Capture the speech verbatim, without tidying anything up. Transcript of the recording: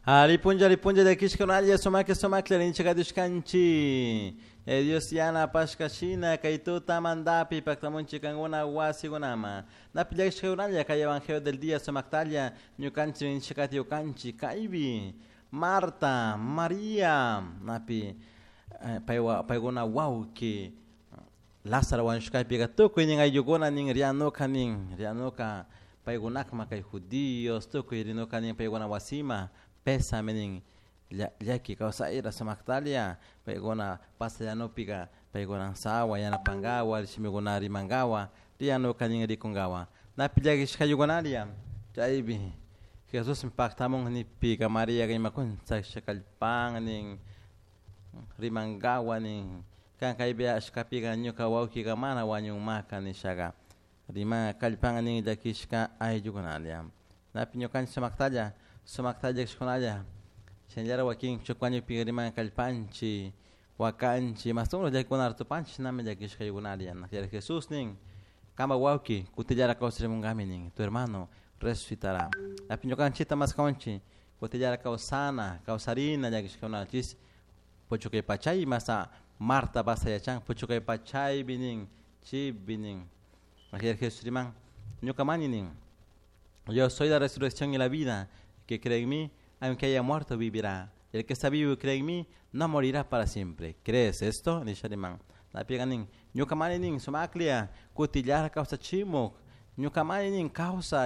Aripunlla aripunlla llakishkunalla sumaklla sumaklla rinchikatushkanchik. Eh, Dios yanapashka shina kay tutamantapi paktamunchik kankuna wasikunaman. Napi llakishkakunalla kay evangelio del día sumaktalla ñukanchik rinchikatiukanchik kaypi Marta, María, napi eh, paywa paykuna wawki Lázaro wañushkaypika tukuy nin ayllukuna nin rianuka nin rianuka paykunakma kay judíos tukuy rinuka nin paykuna wasima pésame nin llaki kawsayra sumaktalla paykuna pasayanupika paykuna sawa yanapankawa shimikuna rimankawa rianuka nin rikunkawa napi llakishkayukunalla chaypi Jesús paktamun nipika María imakunta kallpan nin rimankawa nin kan kaypi ashkapika ñuka wawkika mana wañunmaka nishaka rima kallpan nin llakishka ayllukunalla napi ñukanchik sumaktalla sumaktalla llakishkunalla shinallara wakin shuk wañukpika riman kallpanchik wakanchik mastun llakikuna tupanchik shinami llakishkaykunalla Jesús nin kanpak wawki kutillara kawsarimunkami nin tu hermano resucitará napi ñukanchikta maskawanchik kutillara kawsana kawsarina llakishkakuna chis puchukay pachay masa Marta pasa yachan puchukay pachaypi nin chaypi nin Jesús riman ñukamani nin yo soy la resurrección y la vida que cree en mí aunque haya muerto vivirá el que está vivo y cree en mí no morirá para siempre crees esto nisha riman napiga nin ñukamani nin sumaklla kutillara kawsachimuk ñukamani nin kawsay.